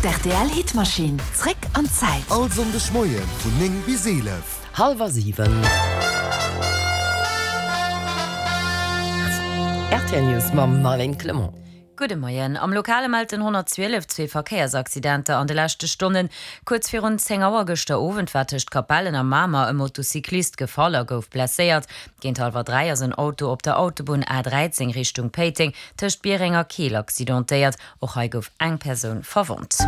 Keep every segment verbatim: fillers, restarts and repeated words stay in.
D'R T L Hitmaschinn, zréck an d'Zäit. All Sonndeg Moie vun néng bis eelef. Hallwer siwen. R T L News mam Marlène Clement. Gudde Moien. Am Lokale mellt den honnertzwielef zwee Verkéiersaccidenter an de leschte Stonnen. Kuerz virun zéng Auer gëschter Owend war tëscht Capellen a Mamer e Motocyclist gefall a gouf blesséiert. Géint hallwer dräi ass en Auto op der Autobunn A dräizéng Richtung Péiteng tëscht Biereng a Keel accidentéiert. Och hei gouf eng Persoun verwonnt.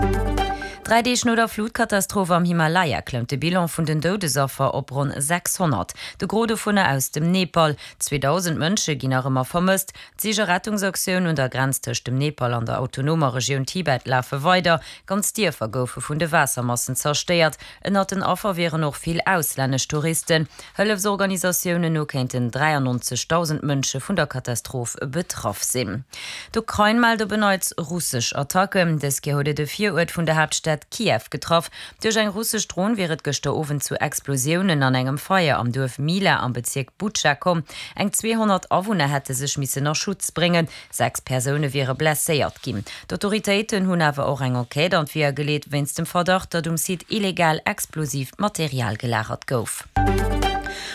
Dräi Deeg no der Flutkatastroph am Himalaya klëmmt de Bilan vun den Doudesaffer op ronn sechshonnert. De Gros dovunner aus dem Nepal. zweedausend Mënsche ginn nach ëmmer vermësst. D'Sich a Rettungsaktioun un der Grenz tëscht dem Nepal an der autonomer Regioun Tibet lafe weider. Ganz Dierfer goufe vun de Waassermassen zerstéiert. Ënnert den Affer wieren och vill auslännesch Touristen. Hëllefsorganisatiounen no kéinten dräiannonzegdausend Mënsche vun der Katastroph betraff sinn. D'Ukrain mellt op en Neits russesch Attacken. Dës Kéier huet et e Viruert vun der Haaptstad Kiew getraff. Duerch eng russesch Dron wier et gëschter Owend zu Explosiounen an engem Feier am Duerf Mila am Bezierk Butscha komm. Eng zweehonnert Awunner hätte sech missen a Schutz bréngen, sechs Persoune wiere blesséiert ginn. D'Autoritéiten hunn awer och eng Enquête an d'Weeër geleet, wéinst dem Verdacht, datt um Site illegal explosiivt Material gelagert gouf.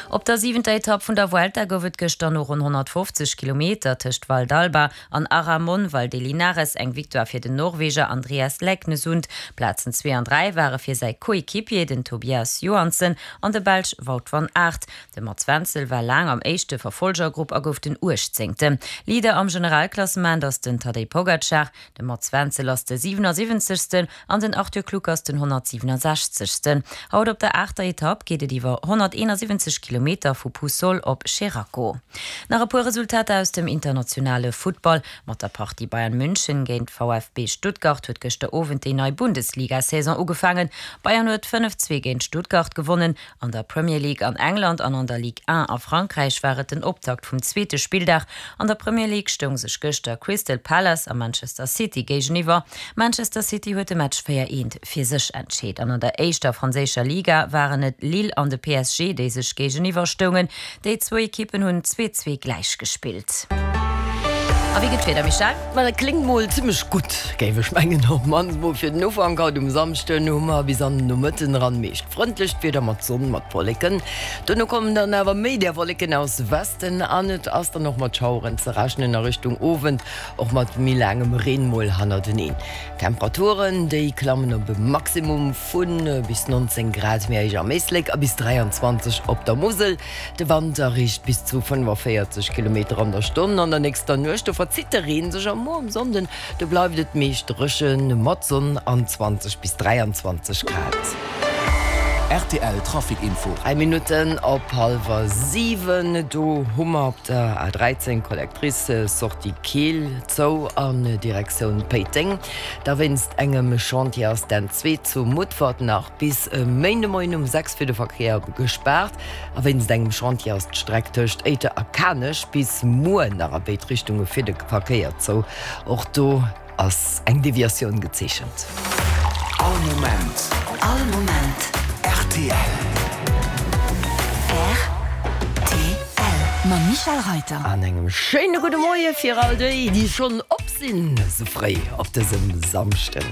Op der siwenter Etapp vun der Vuelta gouf et gëschter no ronn honnertfofzeg Kilometer tëscht Valdalba an Aramon Valdelinares eng Victoire fir den Norweger Andreas Leknessund. Plazen zwee an dräi ware fir säi Coéquipier, den Tobias Johansen, an de Belsch Wout van Aert. De Mats Wenzel war laang am éischte Verfolgergrupp a gouf den Uechtzéngten. Leader am Generalklassement ass den Tadej Pogacar. De Mats Wenzel ass de siwenasiwwenzegsten an den Arthur Kluck ass den honnertsiwenasechzegsten. Haut op der aachter Etapp geet et iwwer honnerteenasiwwenzeg Kilometer vu Puçol op Xeraco. Nach e puer Resultater aus dem internationale Futtball, Mat der Partie Bayern München géint V F B Stuttgart huet gëschter Owend déi nei Bundesliga-Saison ugefaangen. Bayern huet fënnef, zwee géint Stuttgart gewonnen. An der Premier League an England an an der Ligue un a Frankräich war et den Optakt vum zweete Spilldag. An der Premier League stoung sech gëschter Crystal Palace a Manchester City géigeniwwer. Manchester City huet de Match véier, eent fir sech entscheet. An an der éischter franséischer Liga waren et Lille an de P S G, déi sech géigeniwwer stoungen. Déi zwou Ekippen hunn zwee, zwee gläich gespillt. A wéi gëtt d'Wieder, Michèle? Ma dat kléngt mol zimmlech gutt, géif ech mengen, op d'mannst mol fir den Ufank. Haut um Samschden hu mer bis an den Nomëtten eran meescht frëndlecht Wieder mat Sonn, mat Wolleken. Dono kommen dann awer méi där Wolleken aus Westen an et ass dann och mat Schaueren ze rechnen a Richtung Owend och mat méi laangem Reen mol hannerteneen. D'Temperaturen, déi klammen op e Maximum vu bis nonzéng Grad méi héich am Éislek a bis dräianzwanzeg op der Musel. De Wand erreecht bis zu fënnefaféierzeg Kilometer an der Stonn. An der nächster Nuecht, do verzitt de Reen sech a muer um Sonnden, do bleift et meescht dréchen mat Sonn an zwanzeg bis dräianzwanzeg Grad. R T L Trafic Info. Dräi Minutten op hallwer siwen, do hu mer op der A dräizéng Collectrice Sortie Keel zou an Direktioun Péiteng. Da wéinst engem Chantier ass d'N zwee zu Mutfert nach bis e Méindemoien um sechs fir de Verkéier gespaart. A wéinst engem Chantier ass d'Streck tëscht Éiter a Kanech bis muer nach a béid Richtunge fir de Verkéier zou. Och do ass eng Deviatioun gezeechent. All Moment. All Moment. R T L. R T L mam Michèle Reyter. An engem schéine gudde Moie fir all déi, déi schonn op sinn, sou fréi op dësem Samschden.